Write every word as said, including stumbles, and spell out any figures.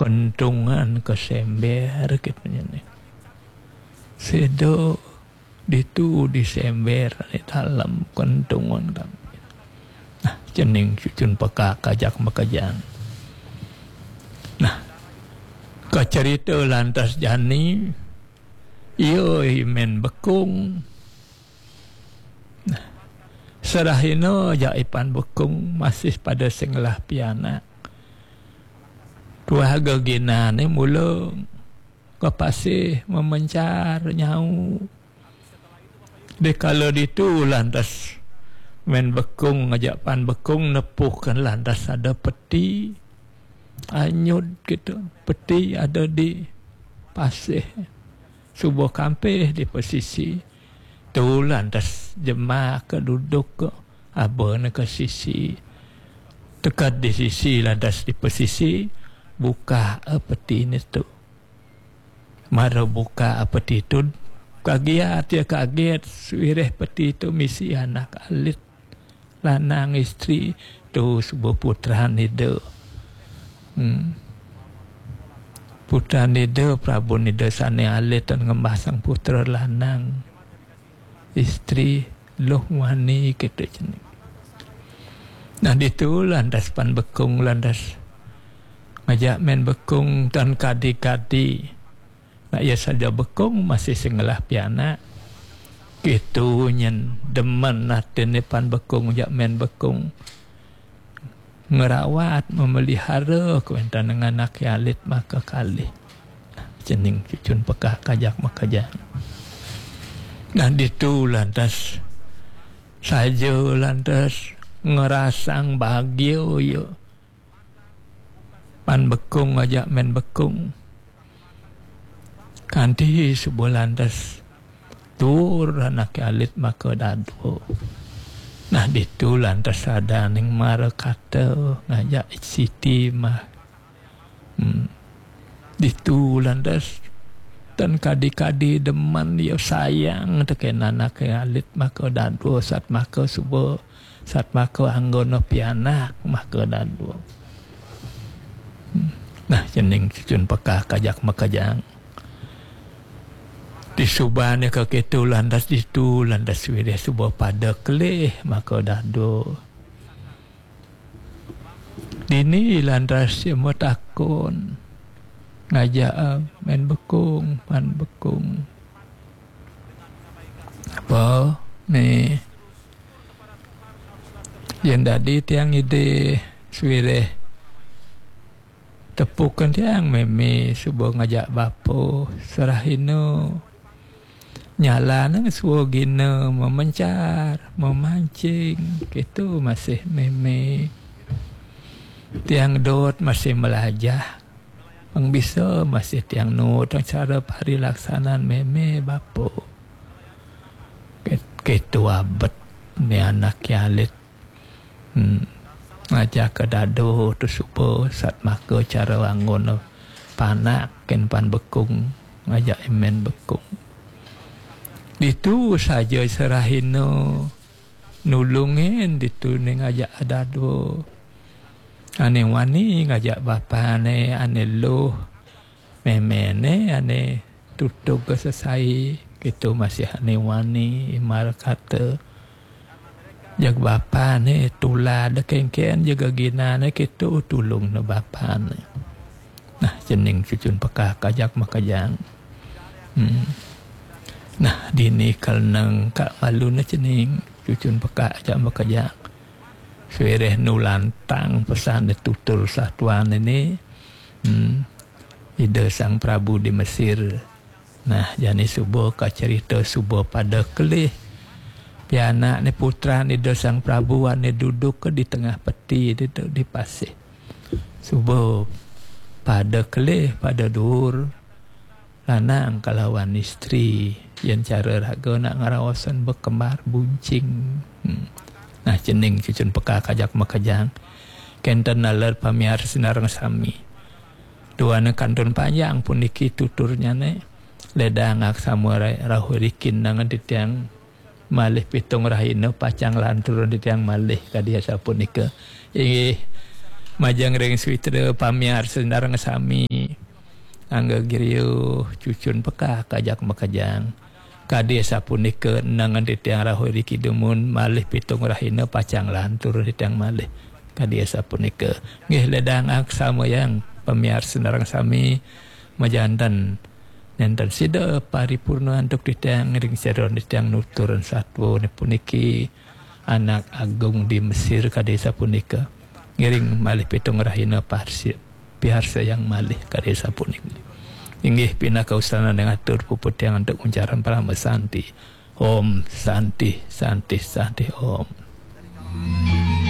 kentungan kesember gitu nya nih. Sida ditu disember di dalam kentungan kami. Nah, cening cucun peka kajak makejang. Nah, kacerita lantas jani, iya i Men Bekung. Nah, serahina jak i Pan Bekung masih pada sing ngelah pianak. Tuah geginane mula ka pasih memencar nyau. Dikala ditu lantas Men Bekung ngajak Pan Bekung nepuhkan lantas ada peti anyut gitu. Peti ada di pasih. Suba kampih di pesisi. Tu lantas jemaka duduk ka abana ka sisi. Teka di sisi lantas di pesisi, buka peti ne tu. Mara buka peti tu, kagiat ya kaget, suireh peti tu misi anak alit lanang isteri tu suba putran ida. Hmm. Putran ida, prabun ida sane alit tan ngembasang putra lanang. Isteri luh wani kita cening. Nah, ditu lantas Pan Bekung lantas ngajak Men Bekung tan kadi-kadi. Nak iya saja Bekung masih sing ngelah pianak. Kitu nyen demen atine Pan Bekung jak Men Bekung. Ngerawat, memelihara kuentan dengan anak alit maka kalih. Cening cucun peka kajak makejang. Nah, ditu lantas saja lantas ngerasang bahagia ya. Pan Bekung aja Men Bekung. Kanti suba lantas tur anak alit maka dadua. Nah, ditu lantas ada ning mara kata ngajak Siti mah. Hmm. Ditu lantas tan kadi-kadi demen ya sayang teken anak alit maka dadua sat maka suba sat maka anggona pianak maka dadua. Hmm. Nah, cening cucun peka kajak makejang. Disubane ka kitu lantas ditu lantas wirih suba pada kelih maka dadua. Dini lantas ia matakon ngajak Men Bekung, Pan Bekung. Apa ni? Yen dadi tiang ide suireh tepukan tiang meme suba ngajak bapa serahina. Nyalane suagina memencar, memancing, kitu masih meme. Tiang dot masih melajah. Pang bisa masih tiang nuut cara parilaksanan meme bapa. Kitu abet ni anak alit. Hmm. Ngajak ke dado tu suba sat maka cara anggon panak ken Pan Bekung ngajak Men Bekung. Ditu saja serahina nulungin ditu ni ngajak dado. Ane wani ngajak bapane ane luh. Memene ane tutug sesai kitu masih ane wani imar kata. Jag bapane tulad kengken jaga ginane kitu tulung ne bapane. Nah, cening cucun peka kajak makejang. Hmm. Nah, dini kal neng ka malu ne cening cucun peka ajak makejang. Suireh nulantang pesan tutur satuan ini. Hmm. Ida Sang Prabu di Mesir. Nah, jani suba ka cerita suba pada kelih. Pianak ni putran Ida Sang Prabu ane duduk ke di tengah peti di, di pasih. Suba pada kelih, pada duur. Lanang kalawan isteri. Yen cara raga nak ngaraosan bekembar buncing. Hmm. Nah, cening cucun peka kajak makejang. Kenten naler pamiar sinareng sami. Duane kantun panjang puniki tuturnyane. Ledang aksama ra-, rauh rikin nangan titiang malih pitung rahina pacang lantur titiang malih kadi asapunika. Inggih, majeng ring switra pamiar sinareng sami. Angga giriuh cucun pekak ajak makejang. Kadi sapunika nengen titiang rauh iriki dumun malih pitung rahina pacang lantur titiang malih. Kadi sapunika. Nggih ledang aksamayang pamiarsa sareng sami majanten nenten sida paripurna antuk titiang ring seron titiang nuturan satwa puniki anak agung di Mesir kadi sapunika. Ngiring malih pitung rahina parsi piharsayang malih kadi sapunika. Inggih pinaka usanan yang atur puput yang antuk uncaran parama santi. Om santi santi santi om.